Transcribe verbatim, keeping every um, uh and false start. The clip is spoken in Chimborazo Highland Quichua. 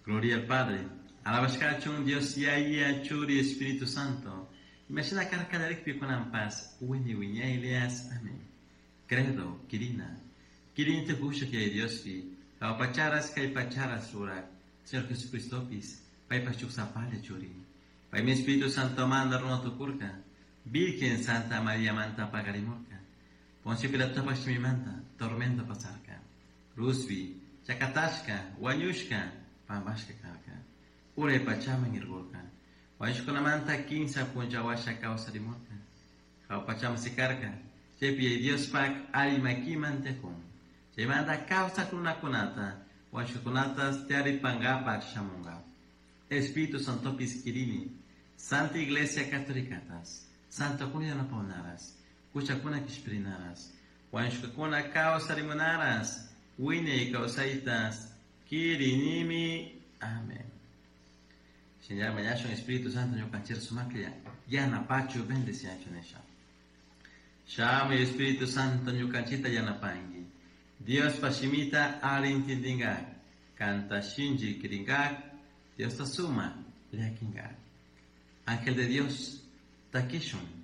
Gloria al Padre, alabashkachun Dios Yaya, Churi, Espíritu Santo. Imashina karka kunanpas, wiñay wiñaylias. Amén. Credo, Quirina. Quirini tukushak Yaya Diospi, jahua pacharas kay pacharas rurak, Señor Jesucristopis, paypaj shuk sapalla churi. Paymi Espíritu Santo manta runa tukurka, Virgen Santa María manta pakarimurka. Poncio Pilatopaj shimimanta, tormento pasarka. Cruzpi, chakatashka, wañushka, pampashka karka. Uray pachaman irkurka. Wañushkunamanta kinsa punlla washa kawsarimurka. Jahua pachaman sikarka. Chaypi Yaya Diospaj alli makiman tiyakun. Chaymanta kawsak runakunata, wañushkakunata taripankapak shamunka. Espíritu Santopis kirini, Santa Iglesia Catolicatas, Santokuna yanapawnaras, huchakuna kishpirinaras, wañushkakuna kawsarimunaras, wiñay kawsaytas, kirinimi. Amén. Señor, mañashun Espíritu Santo ñukanchik sumaklla yanapachu bendeciachu nisha. Shamuy Espíritu Santo ñukanchikta yanapanki. Diospa shimita alli intindinkak, kanta shinchi kirinkak, Diosta suma llakinkak. Ángel de Dios, takishun.